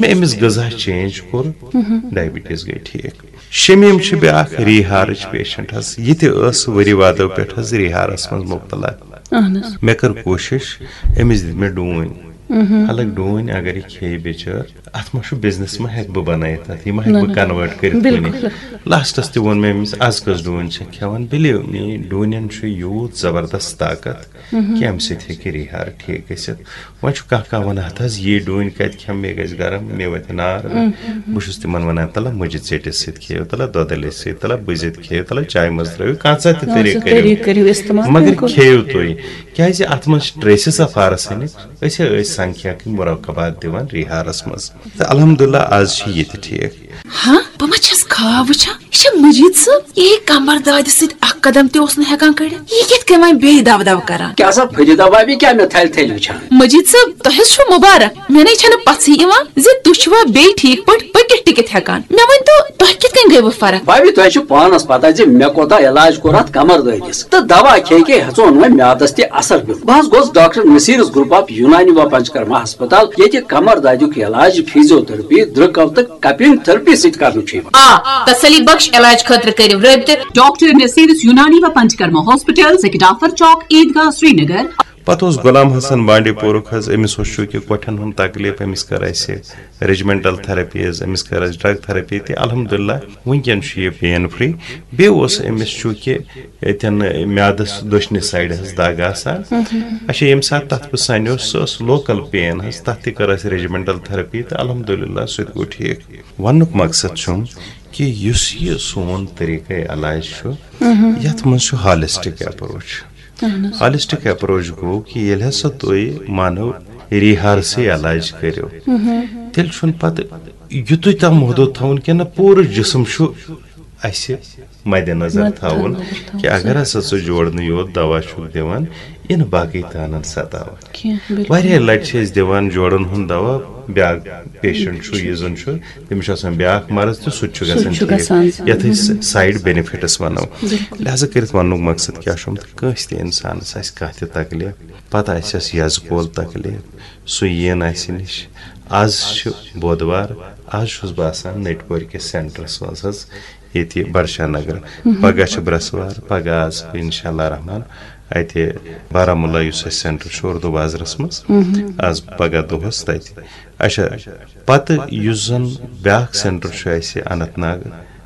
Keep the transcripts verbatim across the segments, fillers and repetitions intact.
مےٚ أمِس غذا چینج کوٚر، ڈائبٹیز گٔے ٹھیک۔ شمیٖم چھِ بیٛاکھ ریٖہارٕچ پیشنٹ حظ، یہِ تہِ ٲس ؤری وادو پٮ۪ٹھ حظ ریٖہارس منٛز مُبتلا۔ اہن حظ۔ مےٚ کٔر کوٗشِش، أمِس دِتۍ مےٚ ڈوٗنۍ۔ حالانکہ ڈوٗنۍ اگر یہِ کھیٚیہِ بِچٲر، اتھ ما چھُ بزنس ما ہٮ۪کہٕ بہٕ بنٲیِتھ، اتھ یہِ ما ہٮ۪کہٕ بہٕ کنوٲرٹ کٔرِتھ کُنہِ۔ لاسٹس تہِ ووٚن مےٚ أمِس، از کٔژ ڈوٗنۍ چھِ کھٮ۪وان؟ بِلیٖو می، ڈوٗنٮ۪ن چھُ یوٗت زبردست طاقت کہِ امہِ سۭتۍ ہیٚکہِ ریٖہار ٹھیک گٔژھِتھ۔ وۄنۍ چھُ کانٛہہ کانٛہہ ونان، ہتہٕ حظ یی ڈوٗنۍ کتہِ کھٮ۪مہٕ، مےٚ گژھِ گرم، مےٚ وتھِ نار۔ بہٕ چھُس تِمن ونان، تلہ مُجہِ ژیٚٹِس سۭتۍ کھیٚیِو، تلہ دۄدلہِ سۭتۍ، تلہ بٕزِتھ کھیٚیِو، تلہ چایہِ منٛز ترٲوِو، کانٛہہ ژا تہِ طریٖقہٕ کٔرِو۔ کٔرِو استعمال، مگر بِلکُل۔ کھیٚیِو تُہۍ، کیازِ اتھ منٛز چھِ ٹریسز آف آرسینک۔ أسۍ ہے ٲسۍ سنکھیا کِنۍ مراقبات دِوان ریٖہارس منٛز۔ تہٕ الحمدللہ از چھِ یہِ تہِ ٹھیک۔ ہاں، بہٕ ما چھَس خواب وٕچھان؟ یہِ چھا مجید صٲب؟ یہِ کمر دادِ سۭتۍ اکھ قدم تہِ اوس نہٕ ہٮ۪کان کٔڑِتھ۔ یہِ کِتھ کٔنۍ وۄنۍ بیٚیہِ دو دو کران؟ کیٛاہ سا فرید بابی، کیٛاہ مےٚ تھلہِ تھلہِ وٕچھان؟ مجید صٲب، تۄہہِ حظ چھُو مُبارک۔ مےٚ نے چھَنہٕ پژھٕے یِوان زِ تُہۍ چھِوا بیٚیہِ ٹھیٖک پٲٹھۍ پٔکِتھ ٹِکِتھ ہٮ۪کان۔ مےٚ ؤنۍ تو، تۄہہِ کِتھ کٔنۍ گٔیوٕ فرق؟ بابی، تۄہہِ چھُ پانس پتہ زِ مےٚ کوٗتاہ علاج کوٚر اتھ کمر دٲدِس، تہٕ دوا کھے کھے ہیژون وۄنۍ میادس تہِ اثر پیوٚن۔ بہٕ حظ گوس ڈاکٹر نصیرس گروپ آف یونانی و پنچکرما ہسپتال، ییٚتہِ کمر دادیُک علاج فیزیو تھرپی، درٛکو تہٕ کپنگ تھرپی سۭتۍ کرنہٕ چھُ یِوان۔ آ، تسلی بخش علاج خٲطرٕ کٔرِو رٲبطہٕ۔ ڈاکٹر نصیرس یونانی و پنچکرما ہاسپٹل، سکڈافر چوک، عیدگاہ، سرینگر۔ پتہٕ اوس غلام حسن بانڈی پورُک حظ، أمِس اوس چوٗنٛکہِ کۄٹھٮ۪ن ہُنٛد تکلیٖف، أمِس کٔر اَسہِ ریجمنٹل تھراپیز، أمِس کٔر اَسہِ ڈرگ تھراپی تہِ۔ الحمدللہ وٕنکٮ۪ن چھُ یہِ پین فری۔ بیٚیہِ اوس أمِس چوٗنٛکہِ ییٚتٮ۪ن میادس دٔچھنہِ سایڈٕ حظ دگ آسان، اچھا، ییٚمہِ ساتہٕ تتھ بہٕ سنیوس، سۄ ٲس لوکل پین حظ، تتھ تہِ کٔر اَسہِ ریجمنٹل تھراپی تہٕ الحمدللہ سُہ تہِ گوٚو ٹھیٖک۔ وننُک مقصد چھُم کہِ یُس یہِ سون طریٖقے علاج چھُ، یتھ منٛز چھُ ہالسٹک اپروچ۔ ہالسٹک اپروچ گوٚو کہِ ییٚلہِ ہسا تُہۍ مانو ریٖہارسٕے علاج کٔرِو، تیٚلہِ چھُنہٕ پتہٕ یُتُے تام محدوٗد تھاوُن کینٛہہ، نہ، پوٗرٕ جسم چھُ اسہِ مدِ نظر تھاوُن کہِ اگر ہسا ژٕ جوڑنہٕ یوت دوا چھُکھ دِوان، یِنہٕ باقٕے تانن ستاوان۔ واریاہ لٹہِ چھِ أسۍ دِوان جوڑن ہُنٛد دوا، بیٛاکھ پیشنٹ چھُ، یہِ زن چھُ، تٔمِس چھُ آسان بیٛاکھ مرض تہٕ سُہ تہِ چھُ گژھان ٹھیٖک۔ یتھ أسۍ سایڈ بینفٹس ونو۔ لہذا کٔرِتھ وننُک مقصد کیٛاہ چھُم تہٕ کٲنٛسہِ تہِ انسانس آسہِ کانٛہہ تہِ تکلیف، پتہٕ آسٮ۪س یزٕ کول تکلیف، سُہ یِیِن اسہِ نِش۔ از چھُ بودوار، از چھُس بہٕ آسان نٔٹۍ پورِ کِس سینٹرس منٛز حظ، ییٚتہِ بڑشاہ نگر۔ پگاہ چھُ برٛٮ۪سوار، پگاہ آسہٕ بہٕ انشاءاللہ رحمان اتہِ بارہمولہ، یُس اسہِ سینٹر چھُ اردو بازرس منٛز۔ از پگاہ دۄہس تتہِ۔ اچھا، پتہٕ یُس زن بیٛاکھ سینٹر چھُ اسہِ اننت ناگ،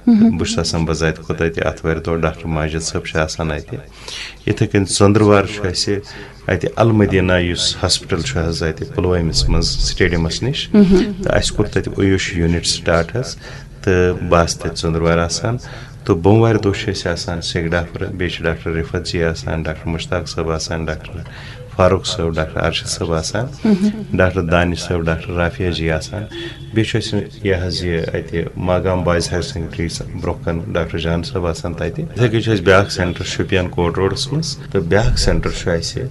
بہٕ چھُس آسان بذاتِ خۄد اتہِ آتھوارِ دۄہ، ڈاکٹر ماجد صٲب چھِ آسان اتہِ۔ یِتھے کٔنۍ ژٔنٛدٕروار چھُ اسہِ اتہِ المدینہ، یُس ہاسپٹل چھُ حظ اتہِ پلوٲمِس منٛز سٹیڈیمس نِش، تہٕ اسہِ کوٚر تتہِ اویوش یونٹ سٹارٹ حظ، تہٕ بہٕ آسہٕ تتہِ ژٔنٛدٕروارِ آسان۔ تہٕ بوموارِ دۄہ چھِ أسۍ آسان سیٚکہِ ڈافرٕ، بیٚیہِ چھِ ڈاکٹر رفعت جی آسان، ڈاکٹر مشتاق صٲب آسان، ڈاکٹر فاروق صٲب، ڈاکٹر ارشد صٲب آسان، ڈاکٹر دانش صٲب، ڈاکٹر رافیہ جی آسان۔ بیٚیہِ چھُ اَسہِ یہِ حظ یہِ اَتہِ ماگام بوائز ہایر سیکنڈری برٛونٛہہ کَنہِ ڈاکٹر جان صٲب آسان تَتہِ۔ یِتھَے کٔنۍ چھُ اَسہِ بیٛاکھ سینٹر شُپین کوٹ روڈَس منٛز، تہٕ بیٛاکھ سینٹر چھُ اَسہِ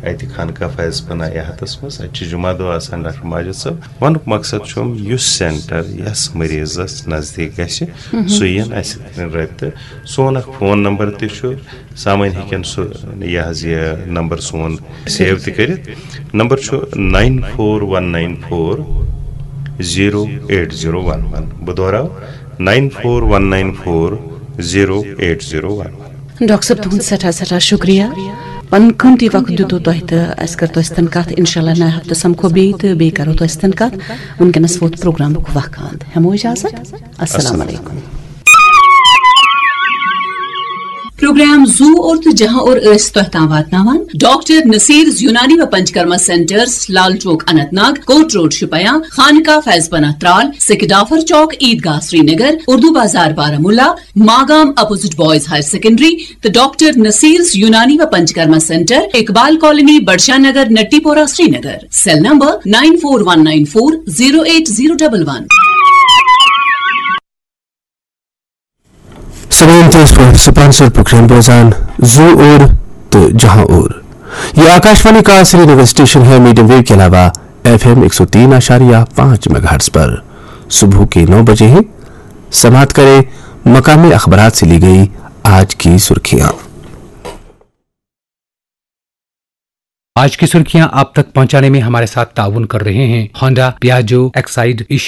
اَتہِ خانقاہ فیض پناہ یہتَس منٛز۔ اَتہِ چھِ جمعہ دۄہ آسان ڈاکٹر ماجد صٲب۔ وَنُک مقصد چھُم، یُس سینٹر یَس مریضس نزدیٖک گژھِ، سُہ یِن اَسہِ سۭتۍ رٲبطہٕ۔ سون اکھ فون نمبر تہِ چھُ، سامعیٖن ہیٚکن سُہ، یہِ حظ یہِ نمبر سون سیو تہِ کٔرِتھ۔ نمبر چھُ nine four one nine four zero eight zero one one۔ بہٕ دۄہراو، nine four one nine four zero eight zero one one۔ Doctor صٲب، تُہُنٛد سٮ۪ٹھاہ سٮ۪ٹھاہ شُکریہ۔ پنُن قۭمتی وقت دیُتوٕ تۄہہِ تہٕ اَسہِ کٔر تۄہہِ سۭتۍ کَتھ۔ اِنشاء اللہ نَیہِ ہفتہٕ سَمکھو بیٚیہِ تہٕ بیٚیہِ کَرو تۄہہِ سۭتۍ کَتھ۔ وٕنکیٚنَس ووت پروگرامُک وقت۔ ہٮ۪مو اجازت۔ السلام علیکم۔ پروگرام زو اور تہٕ جہاں اور ٲسۍ تۄہہِ تام واتناوان ڈاکٹر نصیر یونانی و Panchakarma centres, Lal Chowk Anantnag, court road Shopian, Khanqah Faiz Panah Tral, Sekidafar Chowk Eidgah Srinagar, Urdu Bazar Baramulla, Magam opposite boys higher secondary, تہٕ ڈاکٹر نصیرز یونانی و Panchakarma centre, Iqbal colony, Badshah Nagar, Natipora, Srinagar. Cell number nine four one nine four zero eight zero double one۔ سامعین، تُہۍ ٲسِو سپانسر پروگرام بوزان زو اور تہٕ جہاں اور۔ یہ آکاشوانی کا سری نگر اسٹیشن ہے، میڈیم ویو کے علاوہ ایف ایم ایک سو تین اعشاریہ پانچ میگا ہرٹز پر۔ صبح کے نو بجے ہیں، سماعت کریں مقامی اخبارات سے لی گئی آج کی سرخیاں۔ آج کی سرخیاں آپ تک پہنچانے میں ہمارے ساتھ تعاون کر رہے ہیں ہونڈا، پیاجو، ایکسائیڈ، ایشا۔